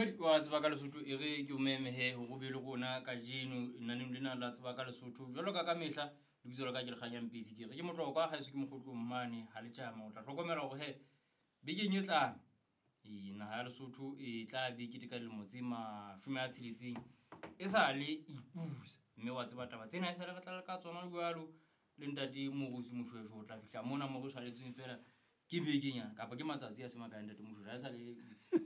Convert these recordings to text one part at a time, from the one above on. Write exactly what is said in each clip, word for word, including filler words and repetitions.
Momamedi wa Tseba ka Lesotho, e re ke o meme he hore o be le rona kajeno lenaneng lena la Tseba ka Lesotho. Jwalo ka ka mehla, lebitso la ka ke Lekganya Mpisi, ke re ke motlokwa haeso ke mokgotlong mane ha le tjama. O tla hlokomela hore he bekeng e tlang e naha ya Lesotho e tla be keteka dilemo tse mashome a tsheletseng e sa le ipusa. Mme wa tseba taba tsena e sale re tla ka tsona jwalo le ntate Morusi Moshweshwe o tla fihla mona mo re tshwaretsweng fela ke bekenyana kapa ke matsatsi a se makae ntate Moshweshwe ha e sa le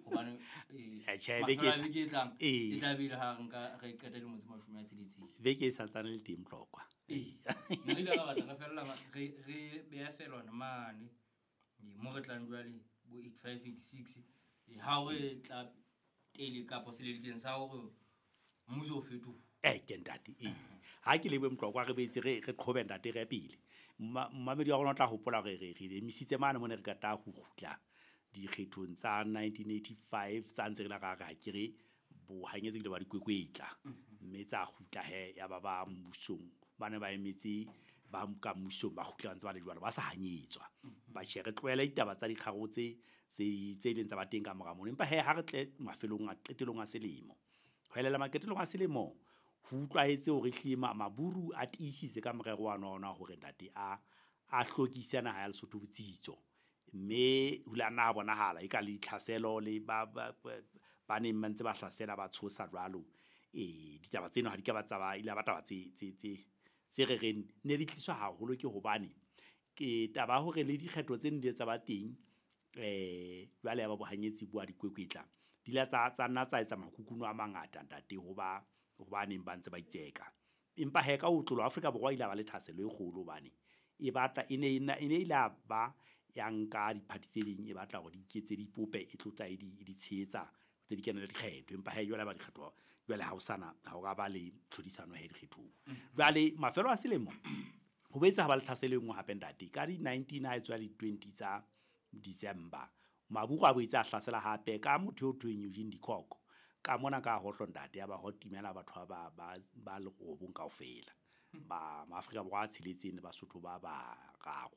hobane eh, Eh, tjhe, beke e mafelo a sa- beke e tlang Ee. e tla be e le ha re nka re qeta dilemo tse mashome a tsheletseng. Beke e santsane le teng Tlokwa. Ee, ne re ile ra batla re fella ma- re re beha felwana mane. Ee, mo re tlang jwale bo eight five eight six ha o re tla tele kapa selelekeng sa hore mmuso o fetoha. Eh, ke ntate, ee. Ha ke lebohe Motlokwa, re boetse re re qhobe ntate re ye pele. Mma- Mmamedi wa rona o tla hopola hore re re emisitse mane mo ne re qeta ho kgutla dikgethong tsa nineteen eighty-five tsa ntse re la ra re ke re bohanyetsi ke ba dikwekwetla. Mme tsa kgutla he ya ba ba mmusong ba ne ba emetse ba ka mmusong ba kgutla ba ntse ba le jwalo ba sa hanyetswa. Ba tjhe re tlohele ditaba tsa dikgaro tse tse tse ileng tsa ba teng ka mora mono. Empa he ha re tle mafelong a qetelong a selemo. Ho elela maqetelong a selemo ho utlwahetse hore ehlile ma-, maburu a tiisitse ka morero wa ona hore ntate a, a hlokise naha ya Lesotho botsitso. Mme ho ile ha nna ha bonahala eka le ditlhaselo le ba, ba, ba, ba neng ba ntse ba hlasela ba tshosa jwalo. Eh, ditaba tseno ha di ka ba tsa ba, ile ba taba tse, tse, tse, tse re reng ne di tliswa haholo ke hobane ke taba ya hore le dikgetho tse neng di tsa ba teng, eh, jwale ya ba bohanyetsi bo a dikwekwetla. Di ile tsa, tsa nna tsa etsa makukuno a mangata ntate ho ba, ho ba neng ba ntse ba itseka. Empa he ka ho tlolo Afrika Borwa ile ba le thahasello e kgolo hobane e batla, e ne e na, e ne ile ba ya nka diphathi tse ding e batla hore di iketse dipope e tlotla e di, e di tshehetsa tse di kenele dikgetho. Empa he jwale ba dikgetho jwale ha ho sana, ha ho ka ba le tlhodisano he dikgethong. Jwale mafelo a selemo ho boetse ha ba le tlhaselo e nngwe hape ntate ka di nineteen ha e tswa di twenty tsa December. Maburu a boetse a hlasela hape ka motho eo thweng Eugene de Kock. Ka mona ka hohlo ntate ya ba ho timela batho ba, ba, ba le robong kaofela. Ba Maafrika Borwa a tsheletseng le Basotho ba bararo.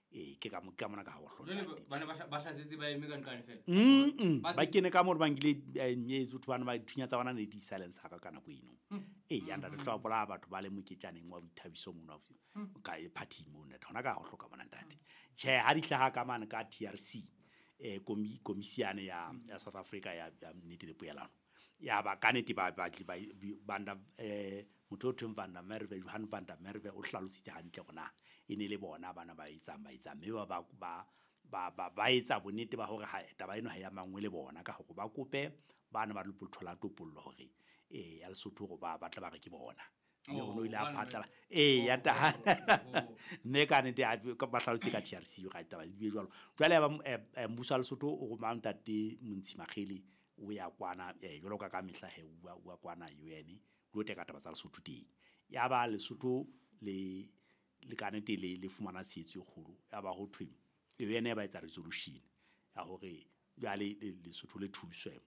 Ee, ke ka mo-, ke ka mona ka hohlo Jwale ntate. ba ne ba hla-, ba hlasetse ba eme ka nqane fela? Mm-mm. Ba Ba setse- kene ka moo ba nkile, eh, nyetse, batho bana ba dithunya tsa bona ne di silencer ka nako eno. Mm. Ee, ya ntate, tla bolaya batho ba le moketjaneng wa boithabiso mono, Mm. ka e party mono, ntate. Hona ka hohlo ka mona ntate. Tjhe, ha di hlaha ka mane ka T R C, eh, komi-, komisiane ya, ya South Africa ya, ya nnete le poelano. Ya ba ka nnete ba, ba, ba, ba, eh, motho o thweng Van der Merwe, Johan van der Merwe o hlalositse hantle hore na e ne le bona bana ba etsang, ba etsang. Mme ba, ba, ba, ba, ba, ba etsa bonnete ba hore ha, taba eno ha e amangwe le bona ka hore ba kope bana ba lo thola topollo hore, eh, ya Lesotho hore ba, ba tla ba re ke bona. Mme Oh, o no ile a hobane phatlala. Ee, ya Oh, ntaha. oh, oh, oh. Mme ka nnete a, ka ba hlalositse ka T R C ga taba di be jwalo. Jwale ya ba, eh, eh, mmuso wa Lesotho o roma ntate Montshi Makgele o ya kwana, eh, jwalo ka ka mehla he, o wa, o wa kwana U N, o lo teka taba tsa Lesotho teng. Ya ba Lesotho le, le ka nnete le, le fumana tshehetso e kgolo. Ya ba ho thwe U N ya ba etsa resolution ya hore jwale le, Lesotho le thuswe.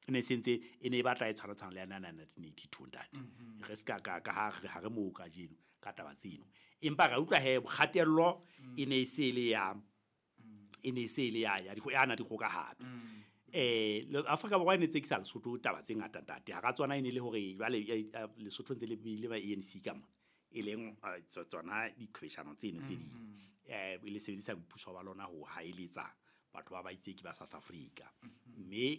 E ne se ntse, e ne e batla e tshwana tshwana le ya nineteen eighty-two ntate. Mm-hmm. Re se ka, ka, ka ha re, ha re moo kajeno ka taba tseno. Empa ra utlwa he kgatello Mm. e ne e se le ya, Mm. e ne e se le ya, ya dikgo-, ya na dikgoka hape. Mm. Eh, le Afrika Borwa e ne tsekisa Lesotho taba tse ngata ntate. Hara tsona e ne le hore jwale, eh, eh, Lesotho ntse le bile ba A N C ka mona. E leng, eh, tso-, tsona diqhwebeshano tseno tse ding. Mm-hmm. Eh, e le sebedisa boipuso ba lona ho haeletsa batho ba baitseki ba South Africa. Mm-hmm. Mme